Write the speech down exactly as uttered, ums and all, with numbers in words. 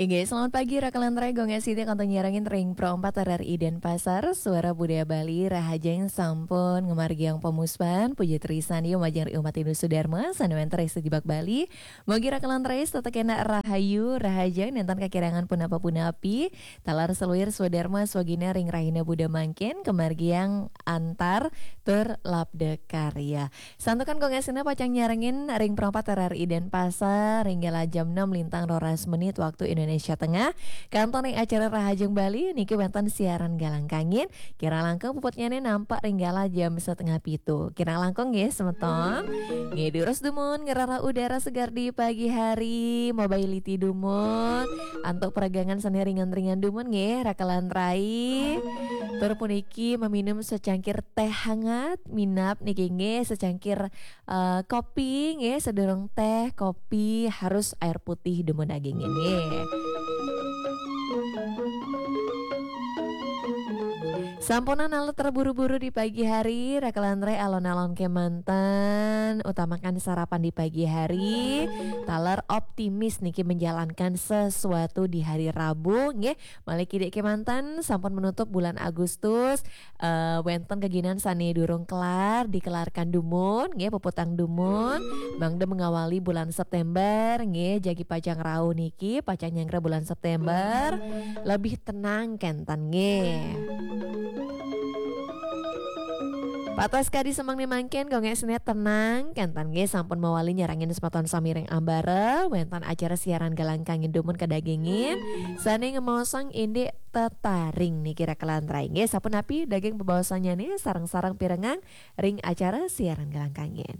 Inggih, selamat pagi, Raka lan Rai, Gung Siti, kantun nyarengin ring Pro empat R R I Denpasar, Suara Budaya Bali, rahajeng sampun ngamargiang pamuspan, puji trisan, yu majeng ring umat Hindu Sudarma, sane wenten ring sejebak Bali. Mugi Raka lan Rai, tetep kena rahayu, rahajeng, nenten kakirangan punapa-punapi, taler saluir swadarma swagina ring rahina Buda mangkin, kamargiang antar tur labda karya. Santukan Gung Siti pacang nyarengin ring Pro empat R R I Denpasar, ring galah jam enam lintang roras menit waktu Indonesia Tengah. Kantun ring acara Rahajeng Bali, niki wenten siaran Galang Kangin. Kirang langkung puputnyane nampak ring galah jam setengah pitu. Kirang langkung nggih, semeton. Nggih, durus dumun, ngrereh udara segar di pagi hari, mabailiti dumun, antuk peregangan sane ringan-ringan dumun nggih, Raka lan Rai. Tur puniki meminum secangkir teh hangat, minab niki nggih secangkir, eh, kopi nggih, sedurung teh, kopi harus air putih dumun dagingin nggih. Sampunang alut terburu-buru di pagi hari, Raka lan Rai, alon-alon kemanten, utamakan sarapan di pagi hari, taler optimis niki menjalankan sesuatu di hari Rabu nggih. Malih kidik kemanten sampun menutup bulan Agustus, eh, wenten geginan sane durung kelar, dikelarkan dumun nggih, puputang dumun, mangda mengawali bulan September nggih, jagi pacang rauh niki, pacang nyanggra bulan September, lebih tenang kenten nggih. Patas kadi semeng ni mangkin, Gung Siti tenang kenten nggih, sampun mawali nyarengin semeton sami ring ambara, wenten acara siaran Galang Kangin dumun kadagingin, sane ngemaosang indik tetaring niki, Raka lan Rai nggih. Sapunapi daging bebaosannyané, sareng-sareng pirengang ring acara siaran Galang Kangin.